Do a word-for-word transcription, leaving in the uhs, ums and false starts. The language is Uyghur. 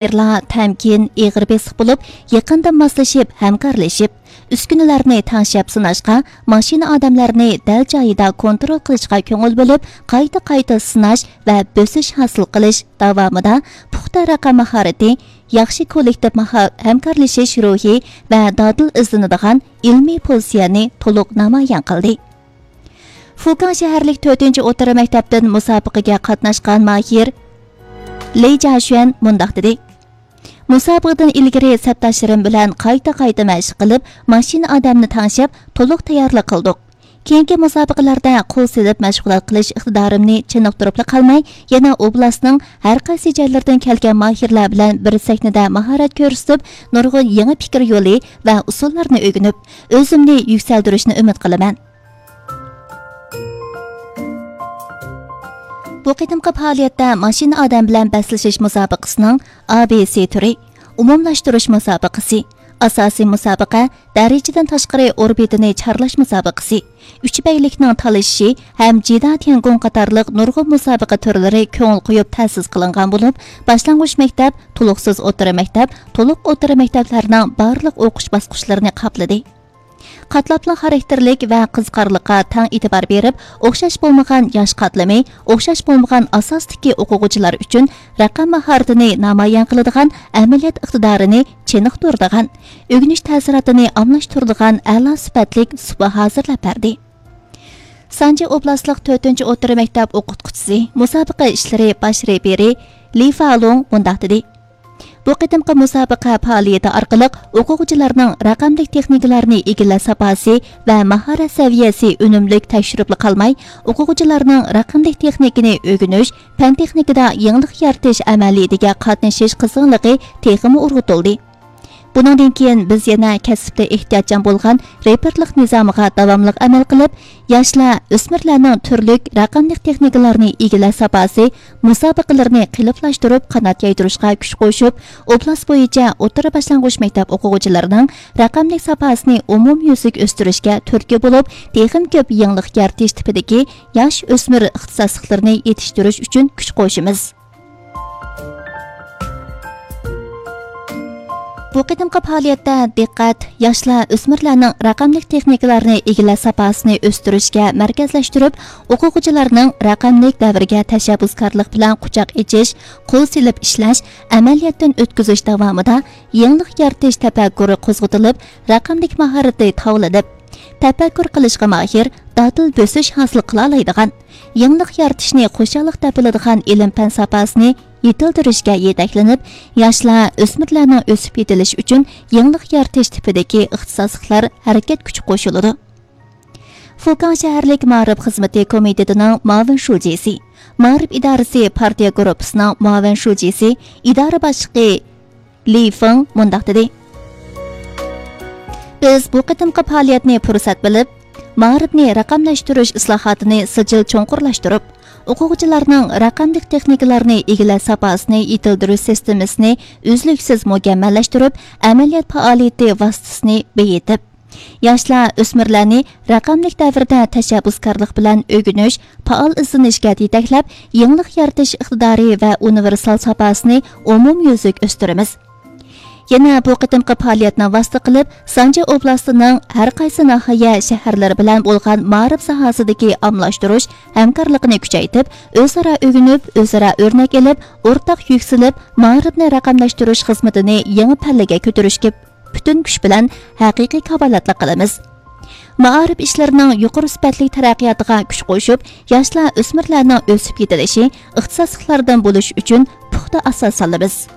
ماھىرلار تەمكىن، ئېغىر بېسىق بولۇپ، يېقىندىن ماسلىشىپ، ھەمكارلىشىپ، ئۈسكۈنىلەرنى تەڭشەپ سىناشقا، ماشىنا ئادەملەرنى دەل جايىدا كونترول قىلىشقا كۆڭۈل بۆلۈپ، قايتا-قايتا سىناش ۋە بۆسۈش ھاسىل قىلىش داۋامىدا پۇختا رەقەم ماھارىتى، ياخشى كوللېكتىپ ماھا-، ھەمكارلىشىش روھى ۋە دادىل ئىزدىنىدىغان ئىلمىي پوزىتسىيەنى تولۇق نامايان قىلدى. فۇكاڭ شەھەرلىك تۆتىنچى ئوتتۇرا مەكتەپتىن مۇسابىقىگە قاتناشقان ماھىر لېي جاشۈەن مۇنداق دېدى: مۇسابىقىدىن ئىلگىرى سەپداشلىرىم بىلەن قايتا-قايتا مەشىق قىلىپ، ماشىنا ئادەمنى تەڭشەپ، تولۇق تەييارلىق قىلدۇق. كېيىنكى مۇسابىقىلەردە قول سېلىپ مەشغۇلات قىلىش ئىقتىدارىمنى چېنىقتۇرۇپلا قالماي، يەنە ئوبلاستنىڭ ھەر قايسى جايلىرىدىن كەلگەن ماھىرلار بىلەن بىر سەھنىدە ماھارەت كۆرسىتىپ، نۇرغۇن يېڭى پىكىر يولى ۋە ئۇسۇللارنى ئۆگىنىپ، ئۆزۈمنى يۈكسەلدۈرۈشنى ئۈمىد قىلىمەن. بۇ قېتىمقى پائالىيەتتە ماشىنا ئادەم بىلەن بەسلىشىش مۇسابىقىسىنىڭ ئا بې سې تۈرى، ئومۇملاشتۇرۇش مۇسابىقىسى، ئاساسىي مۇسابىقە، دەرىجىدىن تاشقىرى ئوربىتىنى چارلاش مۇسابىقىسى، ئۈچ بەگلىكنىڭ تالىشىشى ھەم جىدا تيەنگۇڭ قاتارلىق نۇرغۇن مۇسابىقە تۈرلىرى كۆڭۈل قويۇپ تەسىس قىلىنغان بولۇپ، باشلانغۇچ مەكتەپ، تولۇقسىز ئوتتۇرا مەكتەپ، تولۇق ئوتتۇرا مەكتەپلەرنىڭ بارلىق ئوقۇش باسقۇچلىرىنى قاپلىدى. قاتلاملىق خاراكتېرلىك ۋە قىزىقارلىققا تەڭ ئېتىبار بېرىپ، ئوخشاش بولمىغان ياش قاتلىمى، ئوخشاش بولمىغان ئاساستىكى ئوقۇغۇچىلار ئۈچۈن رەقەم ماھارىتىنى نامايان قىلىدىغان، ئەمەلىيەت ئىقتىدارىنى چېنىقتۇرىدىغان، ئۆگىنىش تەسىراتىنى ئالماشتۇرىدىغان ئەلا سۈپەتلىك سۇپا ھازىرلاپ بەردى. سانجى ئوبلاستلىق تۆتىنچى ئوتتۇرا مەكتەپ ئوقۇتقۇچىسى، مۇسابىقە ئىشلىرى باش رېپېرى لى فالۇڭ مۇنداق دېدى: بۇ قېتىمقى مۇسابىقە پائالىيىتى ئارقىلىق ئوقۇغۇچىلارنىڭ رەقەملىك تېخنىكىلارنى ئىگىلەش ساپاسى ۋە ماھارەت سەۋىيەسى ئۈنۈملۈك تەكشۈرۈپلا قالماي، ئوقۇغۇچىلارنىڭ رەقەملىك تېخنىكىنى ئۆگىنىش، پەن تېخنىكىدا يېڭىلىق يارىتىش ئەمەلىيىتىگە قاتنىشىش قىزغىنلىقى تېخىمۇ ئۇرغۇتۇلدى. بۇنىڭدىن كېيىن بىز يەنە كەسىپتە ئېھتىياتچان بولغان رېپېرلىق نىزامىغا داۋاملىق ئەمەل قىلىپ، ياشلار، ئۆسمۈرلەرنىڭ تۈرلۈك رەقەملىك تېخنىكىلارنى ئىگىلەش ساپاسى مۇسابىقىلىرىنى قېلىپلاشتۇرۇپ قانات يايدۇرۇشقا كۈچ قوشۇپ، ئوبلاست بويىچە ئوتتۇرا باشلانغۇچ مەكتەپ ئوقۇغۇچىلىرىنىڭ رەقەملىك ساپاسىنى ئومۇميۈزلۈك ئۆستۈرۈشكە تۈرتكە بولۇپ، تېخىمۇ كۆپ يېڭىلىق يارىتىش تىپىدىكى ياش ئۆسمۈر ئىختىساسلىقلىرىنى يېتىشتۈرۈش ئۈچۈن كۈچ قوشىمىز. بۇ قېتىمقى پائالىيەتتە دىققەت ياشلار، ئۆسمۈرلەرنىڭ رەقەملىك تېخنىكىلارنى ئىگىلەش ساپاسىنى ئۆستۈرۈشكە مەركەزلەشتۈرۈپ، ئوقۇغۇچىلارنىڭ رەقەملىك دەۋرگە تەشەببۇسكارلىق بىلەن قۇچاق ئېچىش، قول سېلىپ ئىشلەش، ئەمەلىيەتتىن ئۆتكۈزۈش داۋامىدا يېڭىلىق يارىتىش تەپەككۇرى قوزغىتىلىپ، رەقەملىك ماھارىتى تاۋلىنىپ، تەپەككۇر قىلىشقا ماھىر، دادىل بۆسۈش ھاسىل قىلالايدىغان، يېڭىلىق يارىتىشنى خۇشاللىق دەپ بىلىدىغان ئىلىم-پەن ساپاسىنى يېتىلدۈرۈشكە يېتەكلىنىپ، ياشلار، ئۆسمۈرلەرنىڭ ئۆسۈپ يېتىلىشى ئۈچۈن يېڭىلىق يارىتىش تىپىدىكى ئىختىساسلىقلار ھەرىكەت كۈچى قوشۇلىدۇ. فۇكاڭ شەھەرلىك مائارىپ خىزمىتى كومىتېتىنىڭ مۇئاۋىن شۇجىسى، مائارىپ ئىدارىسى پارتىيە گۇرۇپپىسىنىڭ مۇئاۋىن شۇجىسى، ئىدارە باشلىقى لى فېڭ مۇنداق دېدى: بىز بۇ قېتىمقى پائالىيەتنى پۇرسەت بىلىپ، مائارىپنى رەقەملەشتۈرۈش ئىسلاھاتىنى سىجىل چوڭقۇرلاشتۇرۇپ، ئوقۇغۇچىلارنىڭ رەقەملىك تېخنىكىلارنى ئىگىلەش ساپاسىنى يېتىلدۈرۈش سىستېمىسىنى ئۈزلۈكسىز مۇكەممەللەشتۈرۈپ، ئەمەلىيەت پائالىيىتى ۋاسىتىسىنى بېيىتىپ، ياشلار، ئۆسمۈرلەرنى رەقەملىك دەۋردە تەشەببۇسكارلىق بىلەن ئۆگىنىش، پائال ئىزدىنىشكە يېتەكلەپ، يېڭىلىق يارىتىش ئىقتىدارى ۋە ئۇنىۋېرسال ساپاسىنى ئومۇميۈزلۈك ئۆستۈرىمىز. يەنە بۇ قېتىمقى پائالىيەتنى ۋاسىتە قىلىپ، سانجى ئوبلاستىنىڭ ھەر قايسى ناھىيە، شەھەرلىرى بىلەن بولغان مائارىپ ساھەسىدىكى ئاممىلاشتۇرۇش ھەمكارلىقىنى كۈچەيتىپ، ئۆزئارا ئۆگىنىپ، ئۆزئارا ئۆرنەك ئېلىپ، ئورتاق يۈكسىلىپ، مائارىپنى رەقەملەشتۈرۈش خىزمىتىنى يېڭى پەللىگە كۆتۈرۈشكە پۈتۈن كۈچ بىلەن ھەقىقىي كاپالەتلىك قىلىمىز. مائارىپ ئىشلىرىنىڭ يۇقىرى سۈپەتلىك تەرەققىياتىغا كۈچ قوشۇپ، ياشلار، ئۆسمۈرلەرنىڭ ئۆسۈپ يېتىلىشى، ئىختىساسلىقلاردىن بولۇشى ئۈچۈن پۇختا ئاساس سالىمىز.